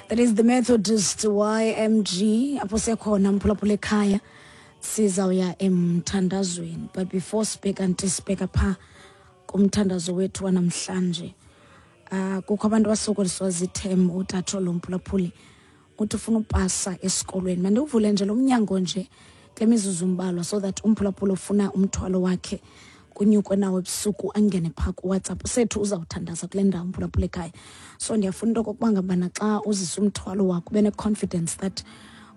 That is the Methodist YMG apho sekhona, mphulaphula ekhaya. Sizawuya emthandazweni, but before sibheka nti sibheka pha kumthandazo wethu wanamhlanje, kukho abantu abasokoliswa zithem. Utatsho lo mphulaphuli uthi ufuna upasa esikolweni. Mandiwuvule nje lo mnyango nje kule mizuzu mbalwa so that umphulaphuli ofuna umthwalo wakhe kunyukwe nawo ebusuku angene phaa kuWhatsApp sethu. Uzawuthandaza kule ndawo, mphulaphula ekhaya. So ndiyafuna into okokuba ngabana xa uzisa umthwalo wakho ube ne-confidence that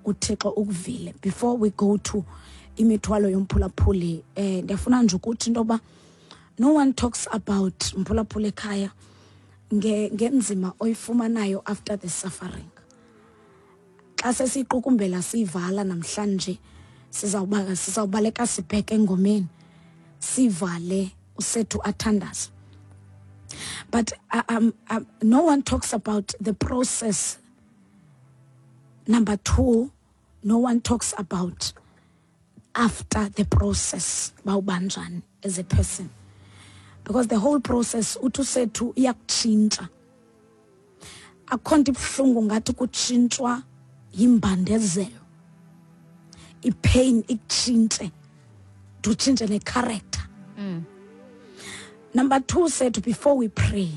uThixo ukuvile. Before we go to imithwalo yomphulaphuli, ndiyafuna nje ukuthi into yoba no one talks about, mphulaphula ekhaya, ngenzima oyifumanayo after the suffering. Xa sesiyiqukumbela, siyivala namhlanje, sizawubaleka sibheke engomeni, sivale, usethu athandaze, but no one talks about the process. Number two, no one talks about after the process bawubanjani as a person, because the whole process, uthi usethu, iyakutshintsha. Akho nto ibuhlungu ngathi kutshintshwa yimbandezelo, ipain ikutshintshe, utshintshe necharacter. Number two said, before we pray,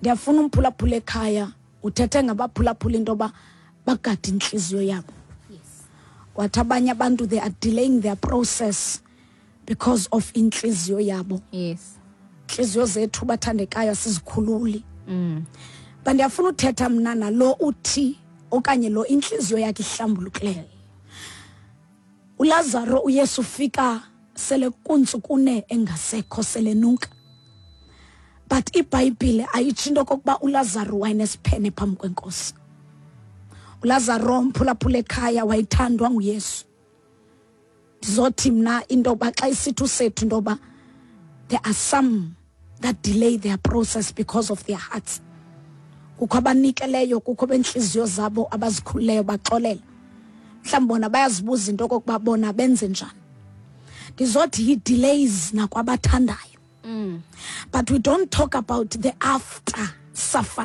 ndiyafuna umphulaphula ekhaya uthethe ngabaphulaphula into yoba bagade intliziyo yabo. Wathi abanye abantu, they are delaying their process because of intliziyo yabo. Intliziyo zethu, bathandekayo, asizikhululi. But ndiyafuna uthetha mna nalo uthi okanye lo intliziyo yakhe ihlambulukileyo. uLazaro, uYesu ufika sele kuntsukune engasekho, selenuka, but iBhayibhile ayitsho into okokuba uLazaro wayenesiphene phambi kwenkosi. uLazaro, mphulaphula ekhaya, wayithandwa nguYesu. Ndizothi mna into yoba xa isithi usethu into yoba there are some that delay their process because of their hearts, kukho abanikeleyo, kukho bentliziyo zabo abazikhululeyo, baxolela. Mhlawumbi bona bayazibuza into okokuba bona benze njani. Ndizothi yi-delays nakwabathandayo, but we don't talk about the after suffering.